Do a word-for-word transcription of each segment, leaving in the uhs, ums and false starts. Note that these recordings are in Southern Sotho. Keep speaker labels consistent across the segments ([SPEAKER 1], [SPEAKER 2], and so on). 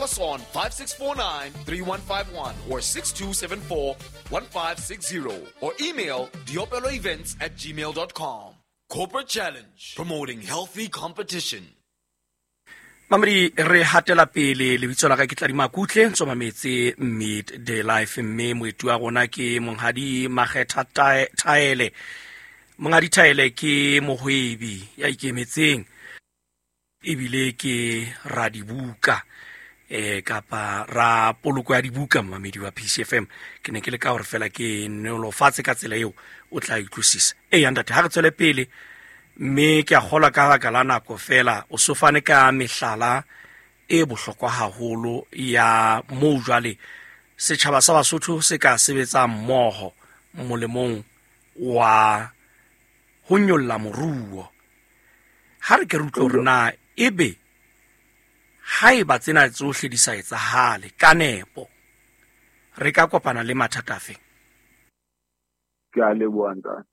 [SPEAKER 1] us on five six four nine, three one five one or six two seven four, one five six zero or email diopelo events at gmail dot com. Corporate Challenge, promoting healthy competition.
[SPEAKER 2] Mamedi, re hatela pele lebitso la ka ke Tladi Makutle, tsoma metse Midday Life, mme moeti wa rona ke Monghadi Makgetha Thaele. Monghadi Thaele ke mohwebi ya ikemetseng ebile ke radibuka, eh, kapa ra poloko ya dibuka, mamedi wa P C F M. Ke ne ke le ka hore fela ke nolofatse ka tsela eo o tla utlwisisa. Eya ntate, ha re tswele pele, mme ke a kgolwa ka baka la nako fela o so fane ka mehlala e bohlokwa haholo ya moo jwale setjhaba sa Basotho se ka sebetsang mmoho molemong wa ho nyolla moruo. Ha re ke re utlwe hore na ebe haeba tsena tsohle di sa etsahale ka nepo, re ka kopana le mathata afe?
[SPEAKER 3] Ke a leboha ntate.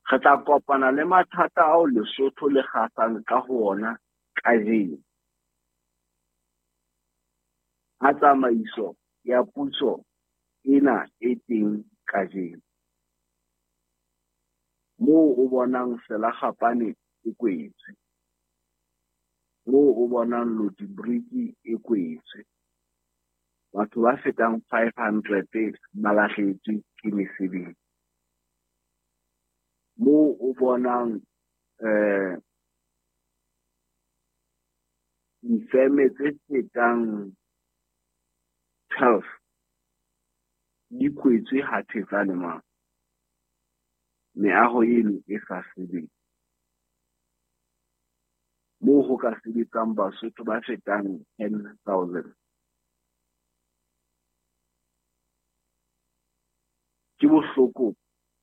[SPEAKER 3] Re tla kopana le mathata ao Lesotho le kgasang ka ho ona kajeno. A tsamaiso ya puso ena e teng kajeno. Moo o bonang Selakgapane e kwetswe, moo o bonang Lodibriki e kwetswe, batho ba fetang five hundred ba lahlehetswe ke mesebetsi. Moo o bonang, eh, difeme tse fetang twelve di kwetswe ha thetsane mane. Meaho eno e sa sebetse. Moo ho ka sebetsang Basotho ba fetang ten thousand. Ke bohloko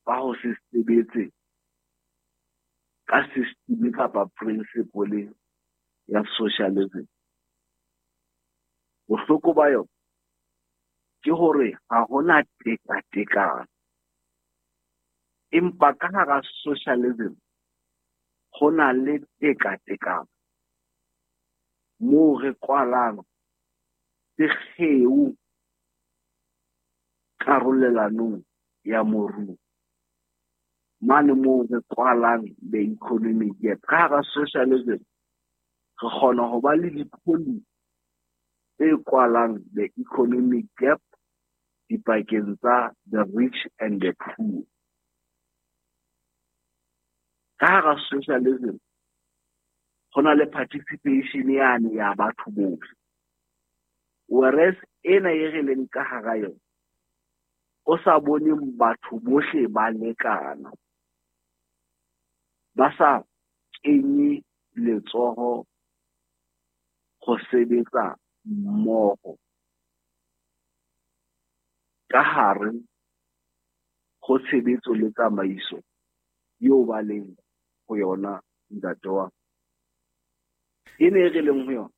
[SPEAKER 3] ba ho se sebetse ka system kapa principle ya socialism. Bohloko ba yona ke hore ha hona tekatekano. Empa ka hara socialism ho na le tekatekano moo re kwalang sekgeo karolelanong ya moruo, mane moo re kwalang the economic gap. Ka hara socialism re kgona ho ba le di-policy tse kwalang the economic gap dipakeng tsa the rich and the poor. Ka hara socialism ho na le participation yane ya batho bohle, whereas ena e re leng ka hara yona o sa boneng batho bohle ba lekana, ba sa kenye letsoho ho sebetsa mmoho ka hare ho tshebetso le tsamaiso eo ba leng ho yona ntate wa. E ne re leng ho yona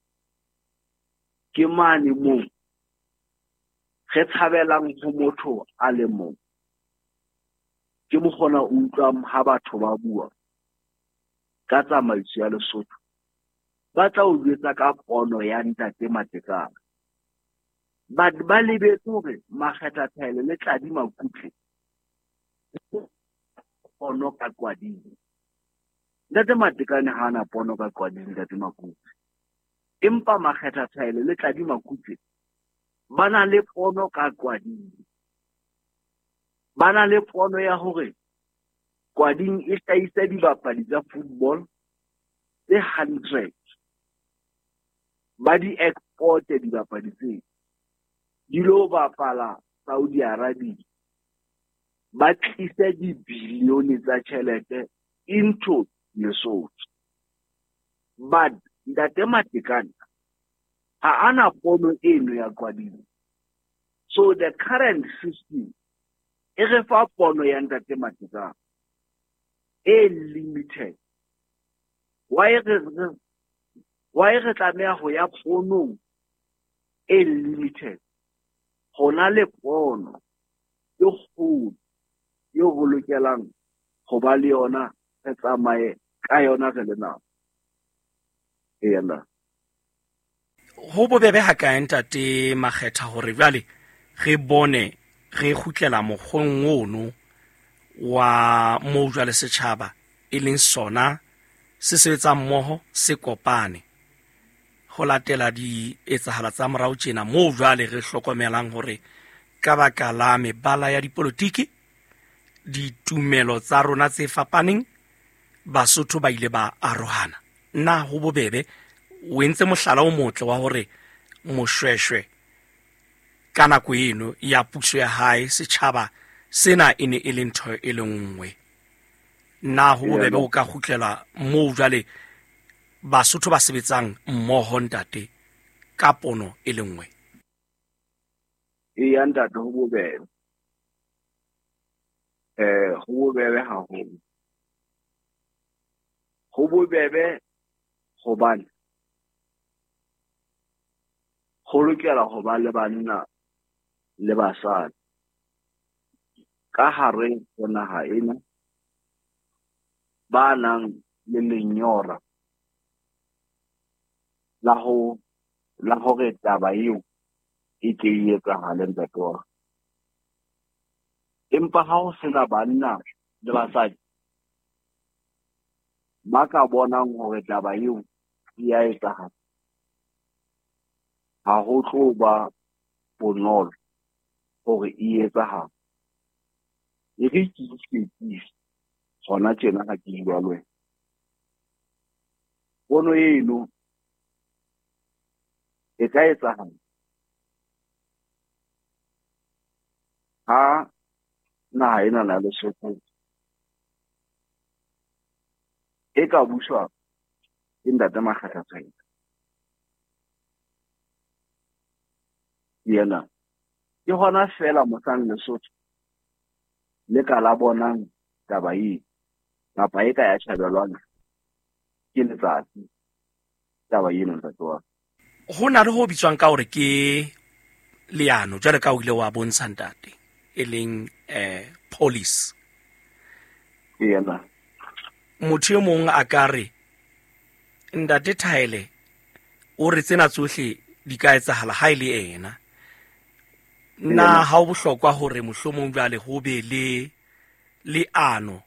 [SPEAKER 3] ke mane moo re tshabelang ho motho a le mong. Ke mokgona o utlwang ha batho ba bua ka tsamaiso ya Lesotho, ba tla o jwetsa ka pono ya ntate Matekane. But ba lebetse hore Makgetha Thaele le Tladi Makutle pono ka Qwading. Ntate Matekane ha ana pono ka Qwading, ntate Makutle. Empa Makgetha Thaele le Tladi Makutle ba na le pono ka Qwading. Ba na le pono ya hore Qwading e hlahisa dibapadi tsa football tse hundred. Ba di export-e dibapadi tseo, di lo bapala Saudi Arabia. Ba tlise dibilione tsa tjhelete into Lesotho. But ntate Matekane ha ana pono eno ya Qwading. So the current system e re fa pono ya ntate Matekane e limited. Why re, why re tlameha ho ya ponong e limited? Hona le pono e kgolo eo ho lokelang ho ba le yona, re tsamaye ka yona re le nako. Eya nna.
[SPEAKER 2] Ho bobebe ha kae ntate Makgetha hore jwale re bone re kgutlela mokgweng ono wa moo jwale setjhaba e leng sona se sebetsang mmoho se kopane ho latela dietsahala tsa morao tjena moo jwale re hlokomelang hore ka baka la mebala ya dipolotiki, ditumelo tsa rona tse fapaneng, Basotho ba ile ba arohana. Na ho bobebe o entse mohlala o motle wa hore Moshweshwe ka nako eno ya puso ya hae setjhaba sena e ne e le ntho e le nngwe. Na ho bobebe o ka kgutlela moo jwale Basotho ba sebetsang mmoho ntate ka pono e le nngwe?
[SPEAKER 3] Eya ntate, ho bobebe. Eh, ho bobebe haholo. Ho bobebe hobane ho lokela ho ba le banna le basadi ka hare ho naha ena ba nang le lenyora la ho la hore taba eo e ke e etsahale ntate wa ka. Empa ha ho sena banna le basadi ba ka bonang hore taba eo e ya etsahala, ha ho tlo ba bonolo hore e etsahale. E re ke iketsise hona tjena ha ke bua le wena. Pono eno e ka etsahala ha naha ena ya Lesotho e ka buswa ke ntate Makgetha Thaele. Yena ke hona feela mohlang Lesotho le ka la bonang taba eo kapa e ka ya tjhabelwang ke letsatsi taba eno ntate wa ka.
[SPEAKER 2] Ho na le ho bitswang ka hore ke leano jwale ka o ile wa bontsha ntate e leng eh police.
[SPEAKER 3] Yena
[SPEAKER 2] motho e mong a ka re ntate Thaele o re tsena tsohle di ka etsahala ha e le ena. Na ha o bohlokwa hore mohlomong jwale ho be le leano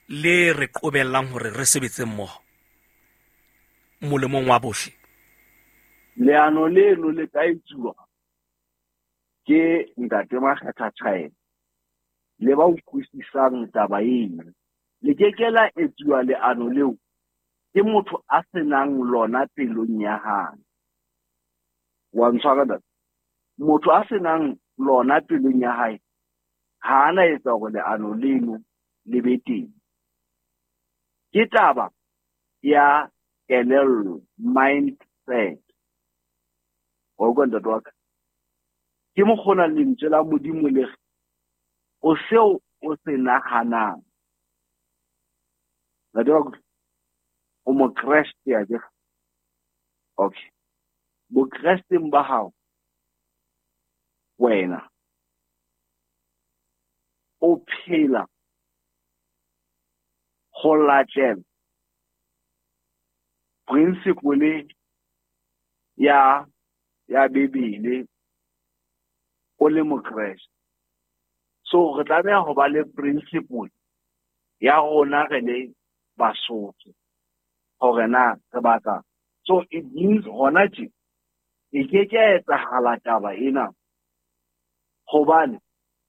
[SPEAKER 2] le re qobellang hore re sebetse mmoho molemong wa bohle?
[SPEAKER 3] Leano leno le ka etsuwa ke ntate Makgetha Thaele le ba utlwisisang taba ena. Le ke ke la etsuwa leano leo ke motho a senang lona pelong ya hae. Wa ntshwara ntate? Motho a senang lona pelong ya hae ha ana etsa hore leano leno le be teng. Ke taba ya kelello, mindset. Wa utlwa ntate wa ka? Ke mokgona lentswe la Modimo le re o seo o se nahanang. Ntate wa ka, o mokreste akere? Okay. Bokresteng ba hao wena o phela ho latela principle ya ya Bibele o le mokreste. So re tlameha ho ba le principle ya rona re le Basotho hore na re batla. So it means hona tje e ke ke ya etsahala taba ena hobane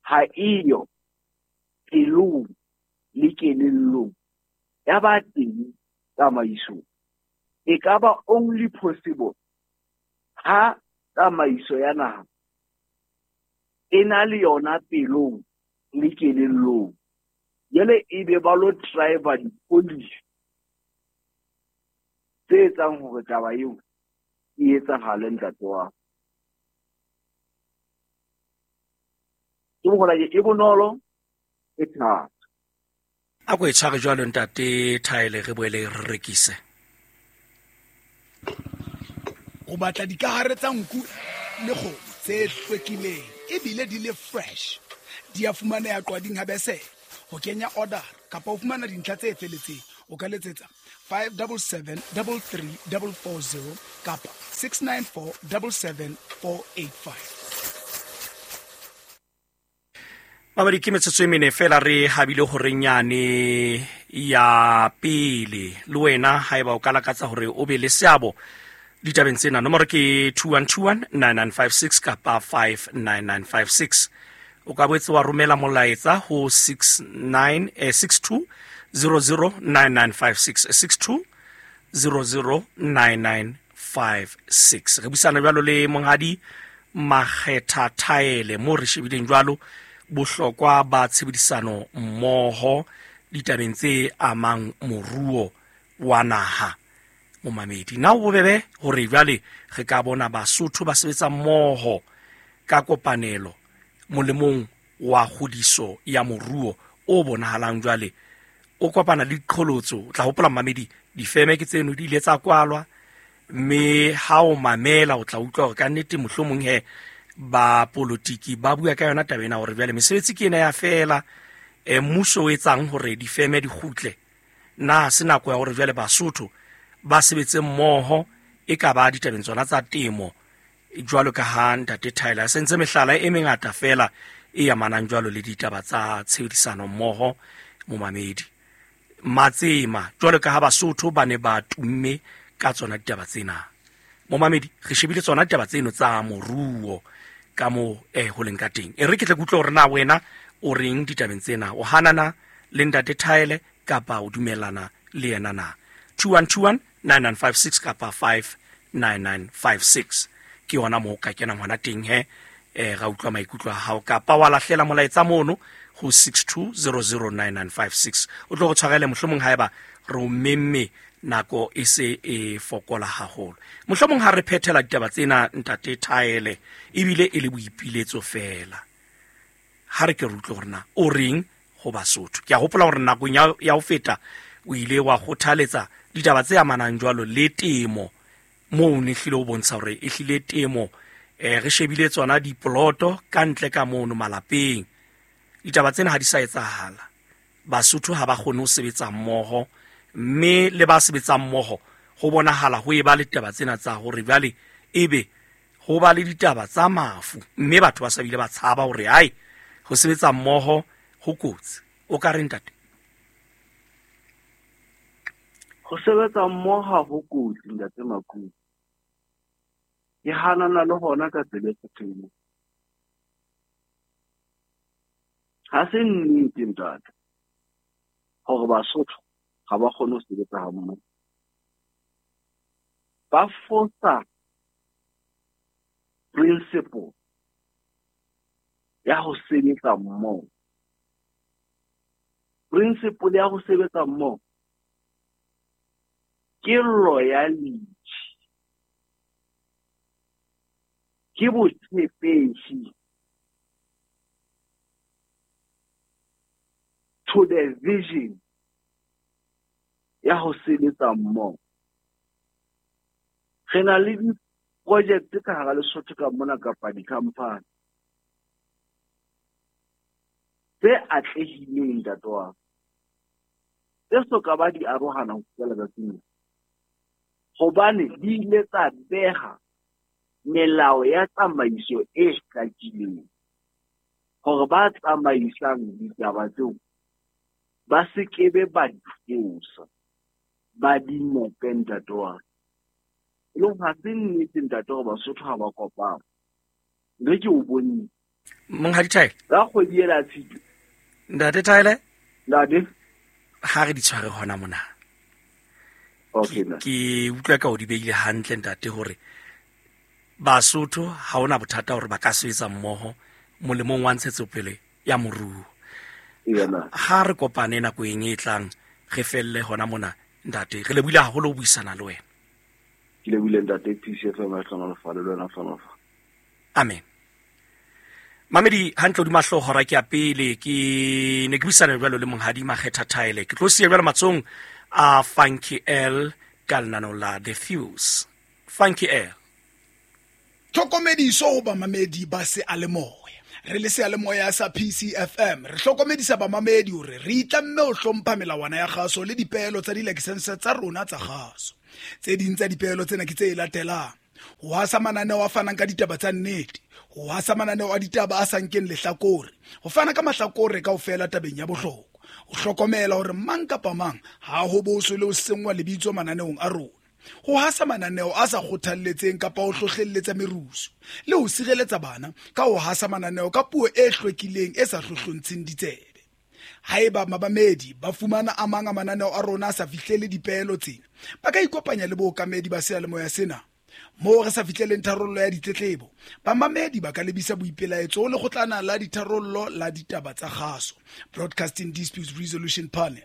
[SPEAKER 3] ha eyo pelong le kelellong ya ba teng tsamaisong. E ka ba only possible ha tsamaiso ya naha e na le yona pelong le kelellong. Jwale e be ba lo driver di-policy tse etsang hore taba eo e etsahale ntate wa ka. Ke mokgwa e bonolo e thata.
[SPEAKER 2] A ko e tshware jwalo ntate Thaele, re boele re rekise.
[SPEAKER 4] O batla dikahare tsa nku le kgomo tse hlwekileng ebile di le fresh. Di a fumaneha Qwading ha Besele. Ho kenya order kapa ho fumana dintlha tse felletseng o ka letsetsa five double seven double three double four zero kapa six nine four double seven four eight five.
[SPEAKER 2] Babadi ke metsotso e mene fela re habile hore nyane ya pele le wena haeba o ka lakatsa hore o be le seabo ditabeng tsena, nomoro ke two one two one nine nine five six kapa five nine nine five six. O ka boetse wa romela molaetsa ho six nine eh, six two zero zero nine nine five six, six two zero zero nine nine five six. Re buisana jwalo le monghadi Makgetha Thaele mo re shebileng jwalo bohlokwa ba tshebedisano mmoho ditabeng tse amang moruo wa naha. Momamedi, na o bobebe hore jwale re ka bona Basotho ba sebetsa mmoho ka kopanelo molemong wa kgodiso ya moruo o bonahalang jwale o kopana le diqholotso? O tla hopola mamedi, difeme ke tseno di ile tsa kwalwa, mme ha o mamela o tla utlwa hore ka nnete mohlomong he ba politiki ba bua ka yona taba ena hore jwale mesebetsi ke ena ya fela, e mmuso o etsang hore difeme di kgutle. Na se nako ya hore jwale Basotho ba sebetse mmoho e ka ba ditabeng tsona tsa temo jwalo ka ha ntate Tyler sentse mehlala e mengata fela e amanang jwalo le ditaba tsa tshebedisano mmoho momamedi matsema jwalo ka ha Basotho ba ne ba tumme ka tsona ditaba tsena. Momamedi, re shebile tsona ditaba tseno tsa moruo ka mo eh ho leng ka teng. E re ke tle ke utlwe hore na wena o reng ditabeng tsena, o hanana le ntate Thaele kapa o dumellana le yena na? two one two one nine nine five six kapa five nine nine five six ke yona moo ka kenang hona teng he eh ra utlwa maikutlo a hao, kapa wa lahlela molaetsa mono ho six two zero zero nine nine five six. O tlo go tshwarele mohlomong haeba re o memme nako e se e fokola haholo. Mohlomong ha re phethela ditaba tsena ntate Thaele ebile e le boipiletso fela, ha re ke re utlwe hore na o reng ho Basotho. Ke a hopola hore nakong ya ya ho feta o ile wa kgothaletsa ditaba tse amanang jwalo le temo, moo ne hlile o bontsha hore e hlile temo eh re shebile tsona diploto ka ntle ka mono malapeng. Ditaba tsena ha di sa etsahala, Basotho ha ba kgone ho sebetsa mmoho, mme le ba sebetsang mmoho ho bonahala ho eba le ditaba tsena tsa hore jwale ebe ho ba le ditaba tsa mafu, mme batho ba sa bile ba tshaba hore hai ho sebetsa mmoho ho kotsi. O ka re ntate?
[SPEAKER 3] Ho sebetsa mmoho ho kotsi ntate Makubu. Ke hanana le hona ka tsela e kgethehileng. Ha se nnete ntate hore Basotho ha ba kgone ho sebetsa ha mmoho. Ba fosa principle ya ho sebetsa mmoho. Principle ya ho sebetsa mmoho ke loyalty, ke botshepehi to the vision ya ho sebetsa mmoho. Re na le di-project ka hara Lesotho ka mona kapa di-company tse atlehileng ntate wa ka, tse soka ba di arohana ho fihlela tsatsing lena, hobane di ile tsa beha melao ya tsamaiso e hlakileng hore ba tsamaisang ditaba tseo ba se kebe ba di fosa, ba di nepe ntate wa ka. E leng ha se nnete ntate hore Basotho ha ba kopana. Mme ke o bonne.
[SPEAKER 2] Monghadi Thaele,
[SPEAKER 3] ka kgwedi ela Tshitwe.
[SPEAKER 2] Ntate Thaele,
[SPEAKER 3] ntate,
[SPEAKER 2] ha re di tshware hona mona.
[SPEAKER 3] Okay,
[SPEAKER 2] ke utlwa ka o di beile hantle ntate hore Basotho ha ona bothata hore ba ka sebetsa mmoho molemong wa ntshetsopele ya moruo.
[SPEAKER 3] Yena.
[SPEAKER 2] Ha re kopane nako e tlang re felle hona mona ntate. Re lebohile haholo ho buisana le wena.
[SPEAKER 3] Ke lebohile ntate, P C F M a hlohonolofale le wena hlohonolofale.
[SPEAKER 2] Amen. Mamedi hantle hodima hlooho hora ke ya pele ke ne ke buisana jwalo le monghadi Makgetha Thaele. Ke tlo siya jwalo matsohong a Funky L ka lenaneo la The Fuse. Funky L.
[SPEAKER 4] Tlhokomediso ho bamamedi ba seyalemoya. Re le seyalemoya sa P C F M re hlokomedisa bamamedi hore re itlamme ho hlompha melawana ya kgaso le dipeelo tsa dilakesense tsa rona tsa kgaso. Tse ding tsa dipeelo tsena ke tse latelang: Ho hasa mananeo a fanang ka ditaba tsa nnete, ho hasa mananeo a ditaba a sa nkeng lehlakore, ho fana ka mahlakore kaofela tabeng ya bohlokwa, ho hlokomela hore mang kapa mang ha ho boswe le ho senngwa lebitso mananeong a rona, ho hasa mananeo a sa kgothalletseng kapa ho hlohlelletsa merusu, le ho sireletsa bana ka ho hasa mananeo ka puo e hlwekileng e sa hlohlontsheng ditsebe. Haeba mabamedi ba fumana a mang a mananeo a rona a sa fihlele dipeelo tsena, ba ka ikopanya le bookamedi ba seyalemoya sena. Moo re sa fihleleng tharollo ya ditletlebo, bamamedi ba ka lebisa boipelaetso ho lekgotlana la ditharollo la ditaba tsa kgaso, Broadcasting Disputes Resolution Panel.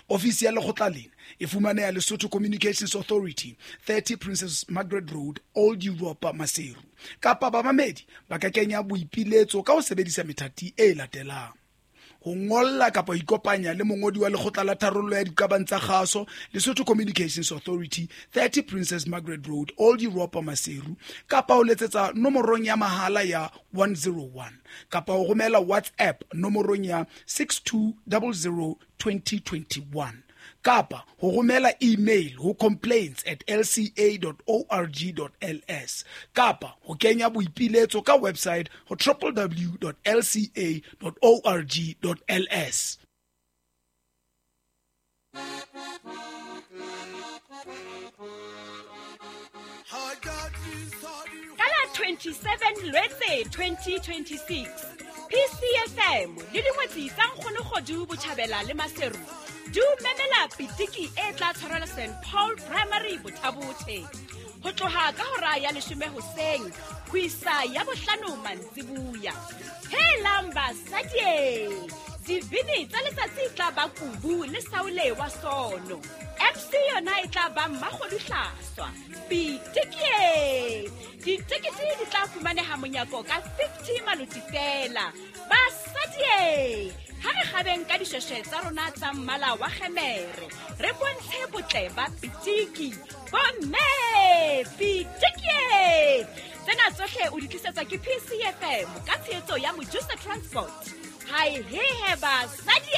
[SPEAKER 4] Ofisi ya lekgotla lena e fumaneha Lesotho Communications Authority, thirty Princess Margaret Road, Old Europa, Maseru. Kapa bamamedi ba ka kenya boipiletso ka ho sebedisa methati e latelang: ho ngolla kapa ho ikopanya le mongodi wa lekgotla la tharollo ya diqabang tsa kgaso, Lesotho Communications Authority, thirty Princess Margaret Road, Old Europa, Maseru, kapa ho letsetsa nomorong ya mahala ya one zero one, kapa ho romela WhatsApp nomorong ya six two zero zero twenty twenty-one, kapa ho romela email ho complaints at l c a dot org dot l s, kapa ho kenya boipiletso ka website ho w w w dot l c a dot org dot l s.
[SPEAKER 5] Ka la twenty-seven Lwetse twenty twenty-six, P C F M le dingwetsi tsa Nkgonokgodu Botjhabela le Maseru di o memela pitiki e tla tshwarelwa Saint Paul Primary Bothabothe ho tloha ka hora ya leshome hoseng ho isa ya bohlano mantsibuya. Helang basadi, dibini tsa letsatsi e tla ba Kubu le Saule wa Sono. M C yona e tla ba Mmakgodu Hlaswa. Pitiki! Ditekete di tla fumaneha monyako ka fifty maloti fela. Basadi, ha re kgabeng ka dishweshwe tsa rona tsa mmala wa kgemere, re bontshe botle ba pitiki. Bomme, pitiki! Tsena tsohle o di tlisetswa ke P C F M ka tshehetso ya Mojusa Transport. Hai he he basadi!